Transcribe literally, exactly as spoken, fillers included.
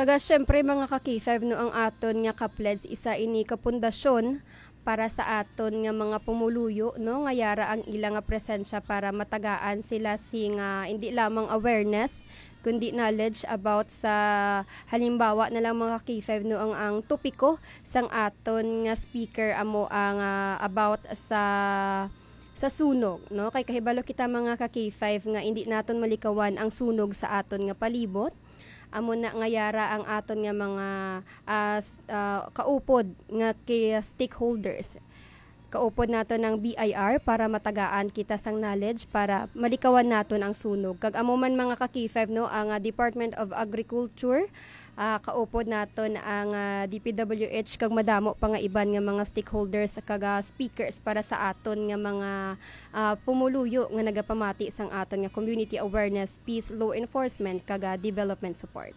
Kaga, syempre, mga ka-K five, no, ang aton nga ka-pledge, isa ini ka pundasyon para sa aton nga mga pumuluyo, no, nga yara ang ila nga presensya para matagaan sila sing, ah, hindi lamang awareness, kundi knowledge about sa, halimbawa na lang, mga ka-K five, no, ang, ang topiko sang aton nga speaker amo ang, ah, about sa, sa sunog, no? Kay kahibalo kita, mga ka-K five, nga hindi naton malikawan ang sunog sa aton nga palibot. Amo na nga yara ang aton nga mga, ah, s-, ah, kaupod nga kay stakeholders. Kaupod nato ng B I R para matagaan kita sang knowledge para malikawan naton ang sunog. Kag amo man, mga ka-K five, no, ang, ah, Department of Agriculture, ah, kaupod naton ang, ah, D P W H kag madamo pa nga iban nga mga stakeholders kag, ah, speakers para sa aton nga mga, ah, pumuluyo nga nagapamati sang aton nga community awareness, peace, law enforcement kag, ah, development support.